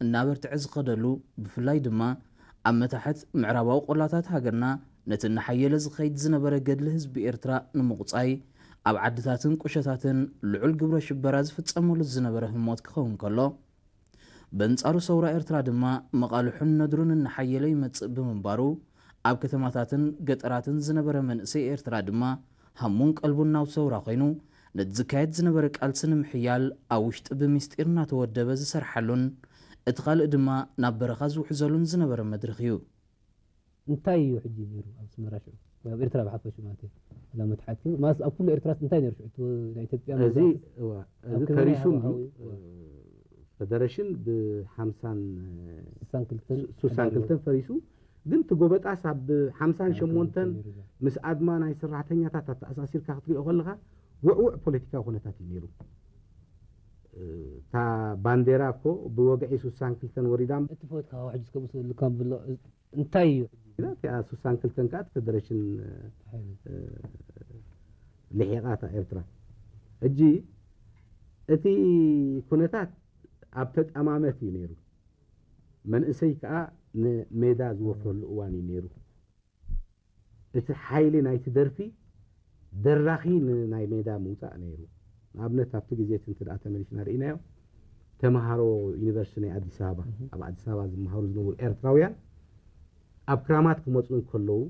እናበርትዐ ዝኸደሉ፣ ብፍላይ ድማ ኣብ መታሕት ምዕራባዊ ቆላታት ሃገርና ነቲ እናሓየለ ዝኸይድ ዝነበረ ገድሊ ህዝቢ ኤርትራ ንምቑጻይ ኣብ ዓድታትን ቁሸታትን ልዑል ግብረ ሽበራ ዝፍጸመሉ ዝነበረ ህሞት ክኸውን ከሎ፣ በንጻሩ ሰውራ ኤርትራ ድማ መቓልሑን ነድሩን እናሓየለ ይመጽእ ብምንባሩ፣ ኣብ ከተማታትን ገጠራትን ዝነበረ መንእሰይ ኤርትራ ድማ ሃሙን ቀልቡን ናብ ሰውራ ኮይኑ፣ ነቲ ዝካየድ ዝነበረ ቃልሲ ንምሕያል ኣብ ውሽጢ ብምስጢር እናተወደበ ዝሰርሓሉን እቲ ካልእ ድማ ናብ በረኻ ዝውሕዘሉን ዝነበረ መድረኽ እዩ። እንታይ እዩ ሕጂ ነይሩ ኣብ ኣስመራ ሽዑ? ኣብ ኤርትራ ብሓፈሹ ማለት እዩ። እዛ መትሓት ግን ማለት ኣብ ኩሉ ኤርትራስ እንታይ ነይሩ ሽዑ? እቲ ናይ ኢትዮጵያ እዚ መግዛእቲ እዋ፣ ኣብ እዚ ክንደይ ፈሪሱ ሃዋህው እንድዩ እዩ? እ፣ ፈደረሽን ብሓምሳን ስሳን ክልተን ሱሳን ክልተን ፈሪሱ፣ ግን እቲ ጎበጣስ ኣብ ሓምሳን ሸሞንተን ምስ ኣድማ ናይ ሰራሕተኛታት ኣተኣሳሲርካ ክትሪኦ ከለኻ ውዕውዕ ፖለቲካዊ ኩነታት እዩ ነይሩ። እ፣ እታ ባንዴራ እኮ ብወግዒ ሱሳን ክልተን ወሪዳ እቲ ፖለቲካዊ ሕጂ እስከ ምስ ልካም ብሎ እንታይ እዩ? እቲኣ ሱሳን ክልተን ከዓ እቲ ፈደረሽን እ፣ ልሒቓ እታ ኤርትራ። ሕጂ እቲ ኩነታት ኣብ ተጠማመት እዩ ነይሩ። መንእሰይ ከዓ ንሜዳ ዝወፍረሉ እዋን እዩ ነይሩ። እቲ ሓይሊ ናይቲ ደርፊ ደራኺ ንናይ ሜዳ ምውፃእ ነይሩ። ንኣብነት ኣብቲ ግዜ እቲ እንተ ደኣ ተመሊስና ርኢናዮ፣ ተምሃሮ ዩኒቨርሲቲ ናይ ኣዲስ ኣበባ፣ ኣብ ኣዲስ ኣበባ ዝመሃሩ ዝነበሩ ኤርትራውያን ኣብ ክራማት ክመፁ እንከለዉ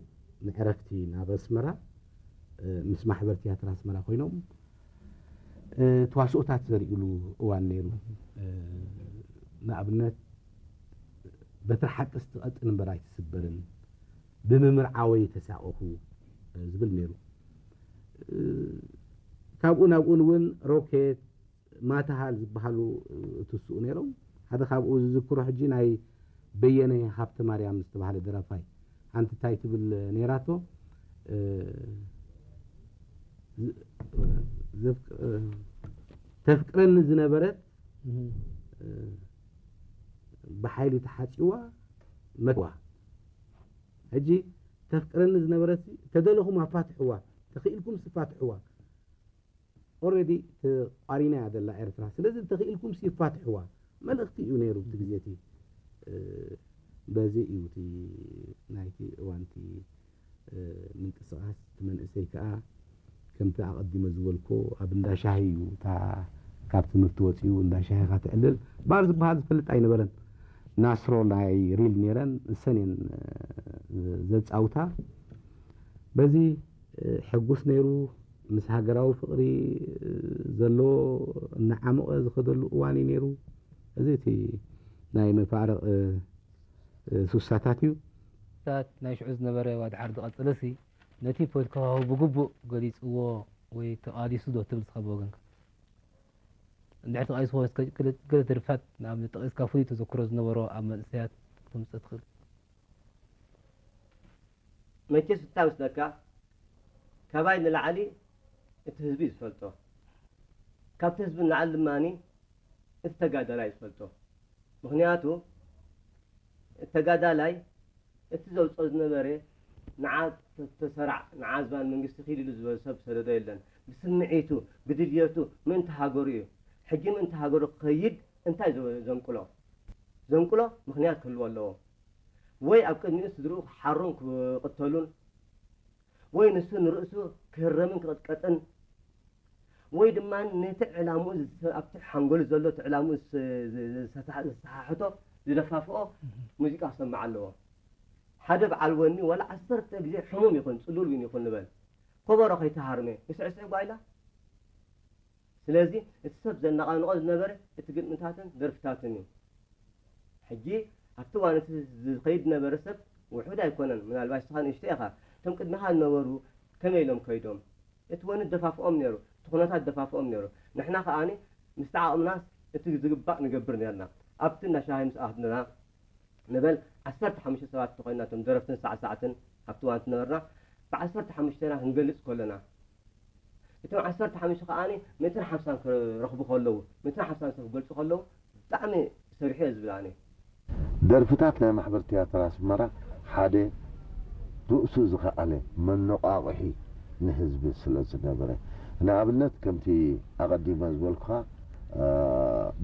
ንዕረፍቲ ናብ ኣስመራ እ፣ ምስ ማሕበር ትያትር ኣስመራ ኮይኖም እ፣ ተዋስኦታት ዘርእሉ እዋን ነይሩ። እ፣ ንኣብነት በትሪ ሓቅስ ትቐጥን እምበር ኣይትስበርን፣ ብምምርዓወይ ተሳቐኹ እ፣ ዝብል ነይሩ። እ፣ ካብኡ ናብኡን እውን ሮኬት ማታሃል ዝበሃሉ እ፣ ትስኡ ነይሮም። ሓደ ካብኡ ዝዝክሮ ሕጂ ናይ በየነ ሃብተ ማርያም ዝተባህለ ደራፋይ ሓንቲ እንታይ ትብል ነይራቶ እ፣ ዝ- ዘፍቅ- እ፣ ተፍቅረኒ ዝነበረት እ፣ ብሓይሊ ተሓፂዋ መትዋ። ሕጂ ተፍቅረኒ ዝነበረት ተደለኹም ኣፋትሕዋ፣ ተኽኢልኩም ስፋትሕዋ። ኦረዲ ተቋሪና እያ ዘላ ኤርትራ። ስለዚ እንተኽኢልኩም ሲፋትሕዋ መልእኽቲ እዩ ነይሩ እቲ ግዜ እቲ። እ፣ በዚ እዩ እቲ ናይቲ እዋን እቲ እ፣ ምንቅስቓስ እቲ መንእሰይ ከዓ ከምቲ ኣቐዲመ ዝበልኩ ኣብ እንዳ ሻሂ እዩ እታ ካብ ትምህርቲ ወፂኡ እንዳ ሻሂ ካ ትዕልል ባር ዝበሃል ዝፈልጥ ኣይነበረን። ናስሮ ናይ ሪል ነይረን እሰን እየን እ፣ ዘፃውታ። በዚ እ፣ ሕጉስ ነይሩ። ምስ ሃገራዊ ፍቕሪ እ፣ ዘሎ እናዓመቐ ዝኸደሉ እዋን እዩ ነይሩ። እዚ እቲ ናይ መፋርቕ እ፣ እ፣ ሱሳታት እዩ። ታት ናይ ሽዑ ዝነበረ ዋድሓር ዝቐጸለሲ ነቲ ፖለቲካዊ ብግቡእ ገሊጽዎ ወይ ተቓሊሱ ዶ ትብል ንስኻ ብወገንካ? እንድሕር ተቓሊስዎ እስከ ገለ ገለ ደርፍታት ንኣብነት ጠቒስካ ፍሉይ ተዘክሮ ዝነበሮ ኣብ መንእሰያት ክተምጽእ ትኽእል? መቸስ እንታይ መስለካ፣ ካባይ ንላዕሊ እቲ ህዝቢ እዩ ዝፈልጦ፣ ካብቲ ህዝቢ ንላዕሊ ድማ እቲ ተጋዳላይ እዩ ዝፈልጦ። ምኽንያቱ እቲ ተጋዳላይ እቲ ዘውፅኦ ዝነበረ ንዓ ተሰራዕ ንዓ ዝባን መንግስቲ ኪድ ኢሉ ዝበሎ ሰብ ዝሰደዶ የለን። ብስምዒቱ ብድልየቱ ምእንቲ ሃገሩ እዩ። ሕጂ ምእንቲ ሃገሩ ክኸይድ እንታይ ዘንቅሎ? ዘንቅሎ ምኽንያት ክህልዎ ኣለዎ። ወይ ኣብ ቅድሚኡ ስድርኡ ክሓሩን ክቕተሉን ወይ ንሱ ንርእሱ ክህረምን ክቕጥቀጥን ወይ ድማ ነቲ ዕላምኡ ኣብቲ ሓንጎሉ ዘሎ እቲ ዕላምኡ ዝሰሓሕቶ ዝደፋፍኦ ሙዚቃ ክሰምዕ ኣለዎ። ሓደ በዓል ወኒ ዋላ ዓሰርተ ግዜ ሕሙም ይኹን ፅሉል እውን ይኹን ንበል ከበሮ ከይተሃርመ ይስዕስዕ ጓይላ። ስለዚ እቲ ሰብ ዘነቓንቖ ዝነበረ እቲ ግጥምታትን ደርፍታትን እዩ። ሕጂ ኣብቲ እዋን እቲ ዝኸይድ ዝነበረ ሰብ ውሑድ ኣይኮነን፣ ምናልባሽ ንስኻ ንእሽቶ ኢኻ። እቶም ቅድሚኻ ዝነበሩ ከመይ ኢሎም ከይዶም? እቲ ወኒ ደፋፍኦም ነይሩ፣ እቲ ኩነታት ደፋፍኦም ነይሩ። ንሕና ከኣ ምስቲ ዓቕምናስ እቲ ዝግባእ ንገብር ነርና። ኣብቲ እንዳ ሻሂ ምስ ኣትና ንበል ዓሰርተ ሓሙሽተ ሰባት እንተኾይንና እቶም ደረፍትን ሳዕሳዕትን ኣብቲ እዋን ዝነበርና ብዓሰርተ ሓሙሽተና ክንገልጽ ከለና እቶም ዓሰርተ ሓሙሽተ ከኣ ሚእትን ሓምሳን ክረኽቡ ከለዉ፣ ሚእትን ሓምሳን ሰብ ክገልጹ ከለዉ ብጣዕሚ ሰሪሑ እየ ዝብል ኣነ። ደርፍታት ናይ ማሕበር ትያትር ኣስመራ ሓደ ርእሱ ዝኸኣለ መነቋቕሒ ንህዝቢ ስለ ዝነበረ፣ ንኣብነት ከምቲ ኣቐዲመ ዝበልኩኻ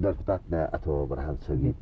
ደርፍታት ናይ ኣቶ ብርሃን ሰጊድ